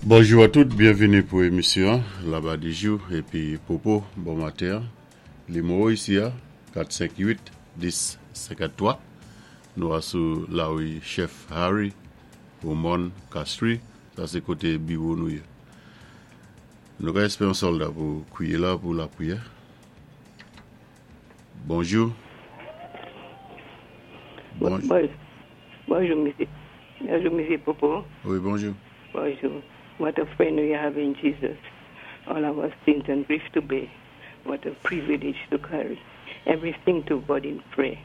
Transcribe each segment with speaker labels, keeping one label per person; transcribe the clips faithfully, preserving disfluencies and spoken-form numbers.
Speaker 1: Bonjou a tout, byenvini pou émisyon Labadijou épi Popo, bon maten. Nimewo isi a, kat senk uit dis senkanntwa. Nou a sou lari Chef Harry, Beaumont, Castries, sa sé koté biwo nou yé. Nou ka èspéwé yon sòlda pou kwiyé la pou lapriyè. Bonjou. Bon,
Speaker 2: Bon, bonjou, misyé. Bonjou, misyé Popo.
Speaker 1: Wi, bonjou.
Speaker 2: Bonjou. What a friend we have in Jesus. All our sins and grief to bear. What a privilege to carry everything to God in prayer.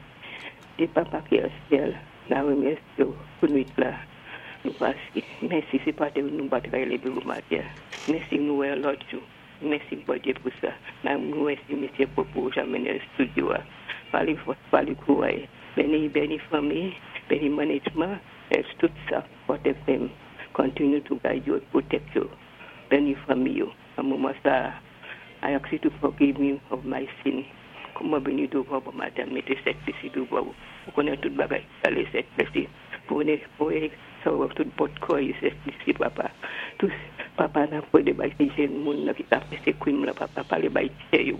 Speaker 2: Di Papa ki nan syèl, n ap remèsyé ou pou nwit la. Nou paské. Mèsi, sé pa té nou pa t lévé bonm maten. Mèsi nou wè lòt jou. Mèsi Bondyé pou sa. N ap remèsyé misyé Popo jan mennen studio. Palé fò, palé kouwè. Béni, béni fanmi, béni management, et tout sa, Hot F M. Continue to guide you, protect you. Béni fanmi yo. Nan moman sa, I ask you to forgive me of my sin. Kòman béni douvan bon maten, mété Sentespri douvan. Ou konnen tout bagay, alé Sentespri. Pou pou sa tout bòt kò, Sentespri, Papa. Tout, Papa, n ap pwédé bay sé jenn moun la ki ka fè sé krim la, Papa, palé bay kè yo.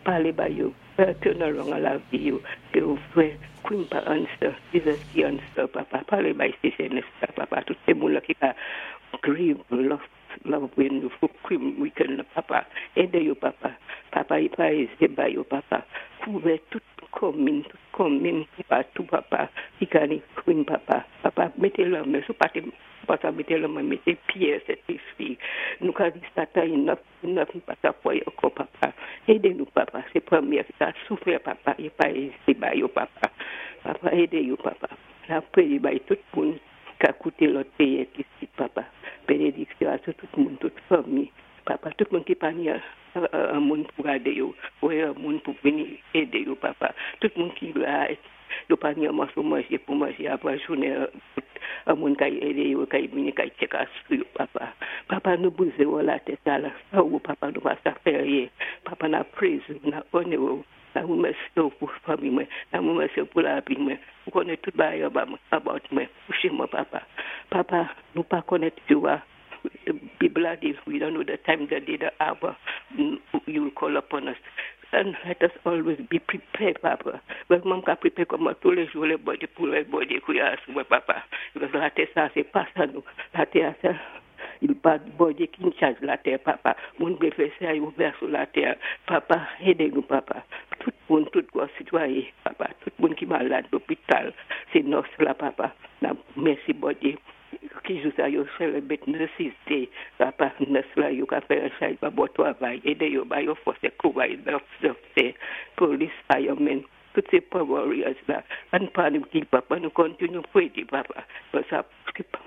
Speaker 2: Palé bay yo. Turn around an lavi yo. Ke ou fè krim pa answer. Jesus ki answer, Papa. Palé bay sé jenn la, Papa. Tout sé moun la ki ka grieve, lost, love when you for krim weekend, Papa. Édé yo, Papa. Papa, i pa ézé bay yo, Papa. Kouvè tout komin, tout komin, patou, Papa. Ki ka ni krim, Papa. Papa, mété lanmen, sou pa pa sa mété lanmen, mété pyé, Sentespri. Nou ka di Satan enough, enough, pa sa fwa ankò, Papa. Édé nou, Papa. Sé pwémyé ki ka soufwi, Papa. I pa ézé bay yo, Papa. Papa, édé yo, Papa. N ap pwédé bay tout moun ka kouté lòt péyi isi, Papa. Bénédiksyon a tout moun, tout fanmi. Papa, tout moun ki pa ni yon moun pou gadé yo, ou yon moun pou vini édé yo, Papa. Tout moun ki la, yo pa ni yon mòso manjé pou manjé apwé jounen, yon moun ka édé yo, ka vini ka tchèké sou yo, Papa. Papa, nou bézwen ou latè sa la, san ou, Papa, nou pa sa fè anyen. Papa, n ap praise, n ap onore ou. N ap remèsyé ou pou fanmi mwen, n ap remèsyé ou pou lavi mwen. Ou konnen tout bagay about mwen. Kouché mwen, Papa. Papa, nou pa konnen jou a. Bib la di, we don't know the time, the day, the hour you will call upon us. And let us always be prepared, Papa. Mwen ka prepare kòman toulé jou lè Bondyé pou lè Bondyé kwiyé sou mwen, Papa. Because latè sa, sé pa sa nou. Latè sa, i pa Bondyé ki in charge latè, Papa. Moun vlé fè sa, yo vlé sou latè. Papa, édé nou, Papa. Tout moun, tout gwo sitwayen, Papa. Tout moun ki malad lopital, sé nurse la, Papa. Mèsi, Bondyé. Ki jou sa yo celebrate Nurses Day, Papa, nurse la yo ka fè yon chay pa bon twavay, édé yo ba yo fòs é kouway, doctor, police, firemen, tout sé prayer warriors la. An pa nou give Papa, nou continue pray, Papa. But sa,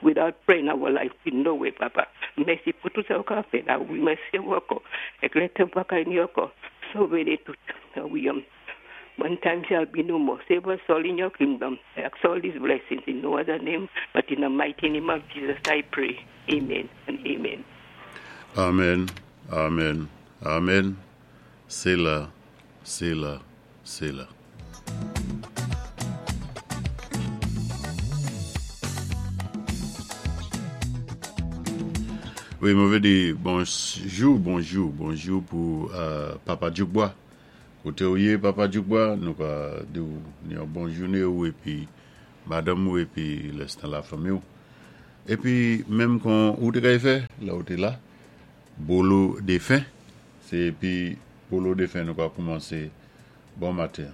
Speaker 2: without praying our life, we no way, Papa. Mèsi pou tout sa ou ka fè la. Wi, mèsi ankò. Ek lè tan pa ka ni ankò. Sové nou tout. Wi, um, one time shall be no more. Save us all in your kingdom. I ask all these blessings in no other name, but in the mighty name of Jesus I pray. Amen and amen.
Speaker 1: Amen, amen, amen. Séla, séla, séla. Wi, mwen vlé di bonjou, bonjou, bonjou pou euh, Papa Djoukbois. Koté ou yé, Papa Djoukbois, nou ka di ou yon bon jounen ou épi madanm ou épi lèstan lafanmi ou. Épi menm kon ou té kay fè, la ou té la, bolo défen, sé épi bolo défen nou ka koumansé bon maten.